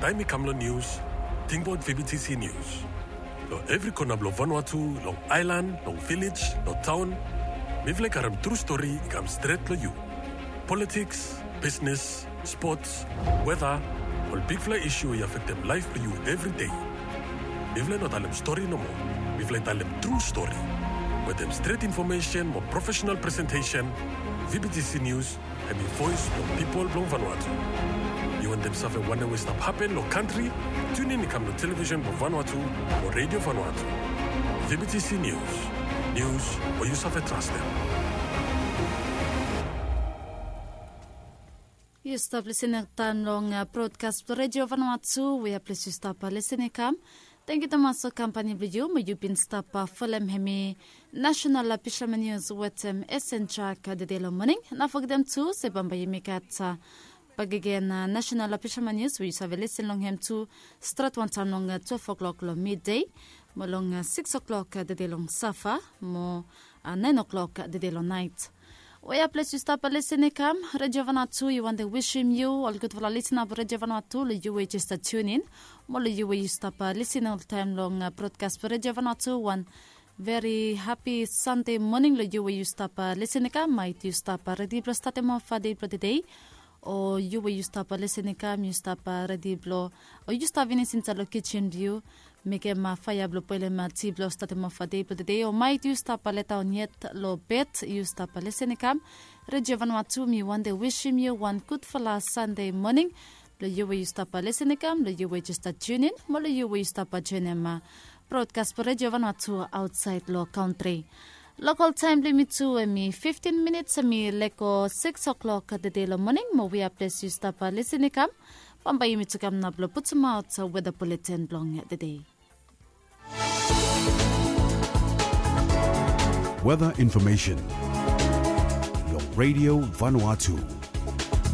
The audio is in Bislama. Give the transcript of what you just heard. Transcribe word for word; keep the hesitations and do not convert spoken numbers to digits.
Taem i kam long nius, tingbaot V B T C Nius. Long evri kona blong Vanuatu, long aelan, long vilej, long taon, mifala i karem tru stori i kam stret long yu. Politiks, bisnes, spots, weta, ol bigfala isu we i afektem laef blong yu evri dei. Mifala i no talem stori nomo. Mifala i talem tru stori. Wetem stret infomesen mo profesenal presentesen, V B T C Nius hem i voes blong pipol blong Vanuatu. Yu wantem save wanem we i stap hapen long kantri? Tiunin i kam long televisen blong Vanuatu mo Redio Vanuatu. V B T C Nius. Nius we yu save trastem. Yu stap lisin taem long brodkas blong Redio Vanuatu, wea ples yu stap lisin i kam. Tangkiu tumas long kampani blong yu, mo yu bin stap folem hemi National Fisherman News wetem S N Jack tede long moning. No fogetem tu se bambae yumi gat bakegen National Fisherman News we yu save lisin long hem tu stret wantaem long twelve o'clock long midei, mo long six o'clock tede long sapa, mo nine o'clock tede long naet. Wea ples yu stap lisin i kam, Redio Vanuatu i wantem wisim yu ol gudfala lisin blong Redio Vanuatu long yu we jes stap tiunin, mo long yu we yu stap lisin oltaem long brodkas blong Redio Vanuatu, wan veri hapi Sande moning long yu we yu stap lisin i kam. Maet yu stap redi blong statem of dei blong tedei, o yu we yu stap lisin i kam yu stap redi blong, o yu stap finis insaed long kijin blong yu mekem faea blong boelem ti blong statem of dei blong tedei, o maet yu stap letaon yet long bed, yu stap lisin i kam. Redio Vanuatu, mi wantem wisim yu wan gudfala Sande moning. Long yu we yu stap lisin i kam, long yu we jes stap tiunin, mo long yu we yu stap joenem brodkas blong Redio Vanuatu aotsaed long kantri. Lokol taem blong yumi tu hemi fiftin minits hemi lego six o'clock tede long moning, mo wea ples yu stap lisin i kam. Bambae yumi tu kam nao blong putumaot weta buleten blong tedei. Weather information long Radio Vanuatu.